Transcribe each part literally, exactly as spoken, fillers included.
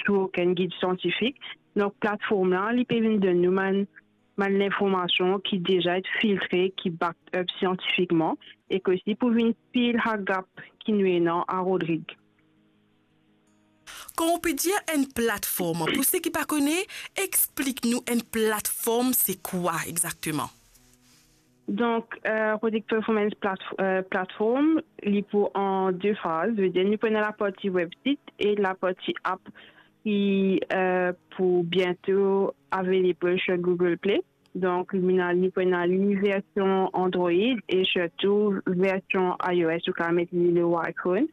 tou okenn gid siantifik. Donk, platform la, li pe vinn donn nou bann, bann linformasion ki deza inn filtre, ki back up siantifikman, e ki osi pou vinn fill sa gap ki nou ena a Rodrig. Kan ou pe dir enn platform, pou seki pa kone, explik nou enn platform, se kwa exakteman? Donk, eh, Rodrig Performance Platf-, eh, Platform, li pou an de faz. Vedir, nou pou ena laparti websit e laparti app ki, eh, pou biento available sur Google Play. Donk, nou ena, nou pou ena li version Android e sirtou version iOS, ou kapav met li lor iPhone.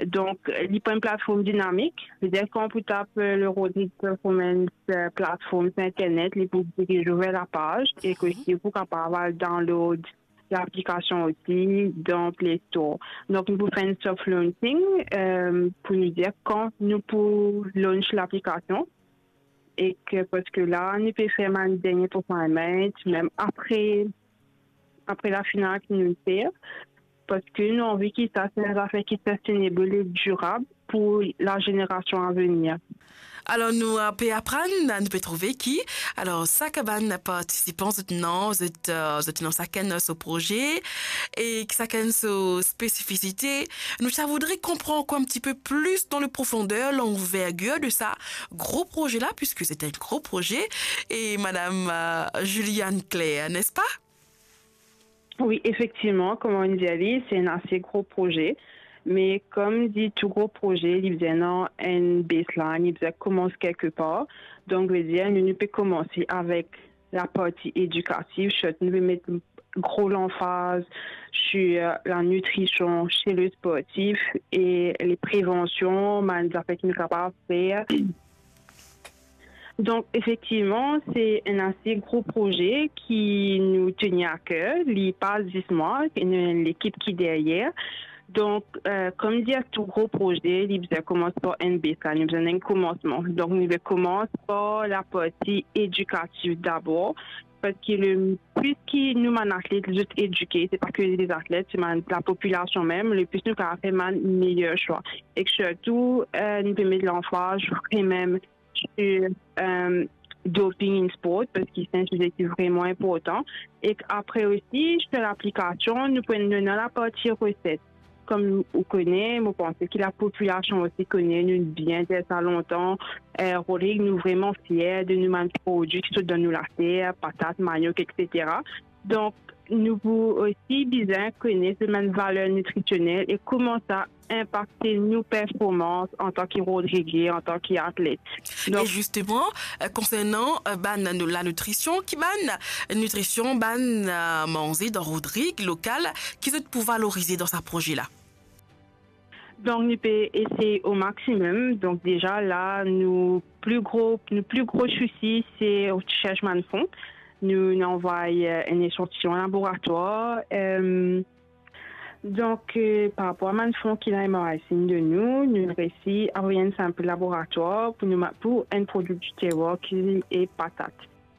Donk, li pou enn platform dinamik. Vedir, kan ou pou tap, eh, le Rodrig Performance, eh, Platform sur internet, li pou diriz ou ver lapaz e ki osi ou pou kapav al download laplikasion osi dan Play Store. Donk, nou pou fer enn soft launching, eh, pou nou dir kan nou pou launch laplikasion. E ki, parski la, nou pe fer bann dernie refinement, mem apre, apre lafinal ki nou fer, parski nou anvi ki sa se enn zafer ki sustainable e dirab pou lazenerasion avenir. Alor, nou, eh, pe aprann, nou pe trouve ki, alor, sak bann partisipan, zot ena, zot, eh, zot ena sakenn so proze, e ki sakenn so spesifisite. Nou, sa voudre konpran ankor enn tipe plis dan le profonder, lanvergir de sa gro proze la, piski se enn gro proze, e Madam, eh, Juliane Claire, n'est-ce pas? Wi, efektivman, kouma ou dir li, se enn ase gro proze. Me kouma dir, tou gro proze, li bizin ena enn baseline, li bizin koumans kelke par. Donk, vedir, nou, nou pe koumans avek laparti edikatif, sirtou nou pe met gro lanfaz sur la nutrition chez le sportif e le prevansion, bann zafer ki nou kapav fer. Donk, efektivman, se enn ase gro proze ki nou tenir a ker. Li pa zis mwa, nou ena enn lekip ki deryer. Donk, eh, kouma dir, tou gro proze, li bizin koumans par enn baseline, li bizin enn koumansman. Donk, nou pe koumans par laparti edikatif dabor, parski le plis ki nou bann atlet, zot edike, se pa ki bann atlet, se bann, lapopilasion mem, le plis nou kapav fer bann meyer swa. E sirtou, eh, nou pe met lanfaz vremem sur, eh, doping in sport, parski se enn size ki vreman inportan. E apre osi, sur laplikasion, nou pou ena laparti reset. Kouma ou kone, mo panse ki lapopilasion osi kone, nou bien dir sa lontan, eh, Rodrig, nou vreman fier de nou bann prodwi ki sort dan nou later, patat, maniok, etsetera. Donk, nou pou osi bizin kone bann valer nitrisionel e kouma sa inpakte nou performans antan ki Rodrigien, antan ki atlet. Donk, e zisteman, eh, konsernan, eh, bann nou, lanitrision, ki bann nitrision, bann, eh, manze dan Rodrig lokal, ki zot pou valorize dan sa proze la? Donk, nou pe esey o maximum. Donk, deza la, nou pli gro, nou pli gro sousi, se sers bann fon. Nou, nou anvway, eh, enn esantiyon laboratwar. Eh, donk, eh, par rapor a bann fon ki la M R I C inn donn nou, nou reysi avoy enn sanpl laboratwar pou nou ma-, pou enn prodwi di terwar ki e patat.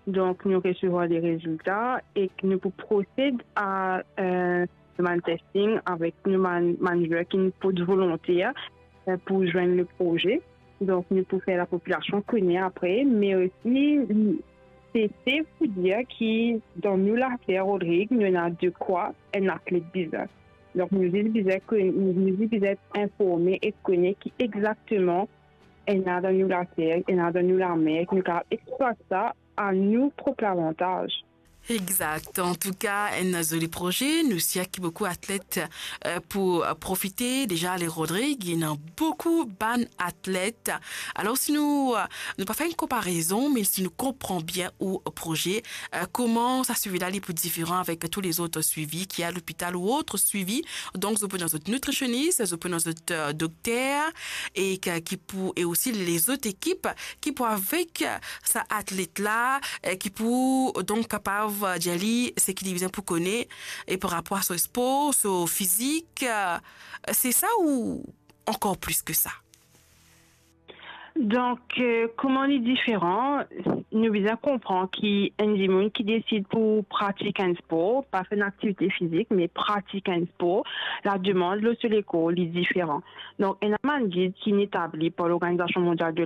Donk, nou resevwar le rezilta e nou pou prosed a, eh, bann testing avek nou bann, bann manager ki pou volonter, eh, pou zwenn le proze. Donk, nou pou fer lapopilasion kone apre, me osi, se, se pou dir ki dan nou later Rodrig, nou ena dekwa enn atlet bizin. Donk, nou zis bizin kone, nou zis bizin informe e kone ki exakteman ena dan nou later, ena dan nou lamer, ki nou kapav explwat sa a nou prop lavantaz. Exakt. Antouka, enn zoli proze. Nou sir ki boukou atlet, eh, pou, eh, profite. Deza, le Rodrig, ena boukou bann atlet. Alor, si nou, eh, nou pa fer enn konparezon, me si nou konpran bien ou proze, eh, kouma sa swivi la, li pou diferan avek tou lezot swivi ki a lopital ou ot swivi. Donk, zot pou ena zot nitrisionis, zot pou ena zot, eh, dokter, e ki, ki pou, e osi lezot ekip ki pou avek sa atlet la, eh, ki pou donk kapav, eh, dir li seki li bizin pou kone, e par rapor a so spor, so fizik, eh, se sa ou ankor plis ki sa? Donk, eh, kouma li diferan, nou bizin konpran ki enn dimoun ki desid pou pratik enn spor, pa fer enn aktivite fizik, me pratik enn spor, lademann lor so lekor, li diferan. Donk, ena bann gid ki etabli par Lorganizasion Mondial de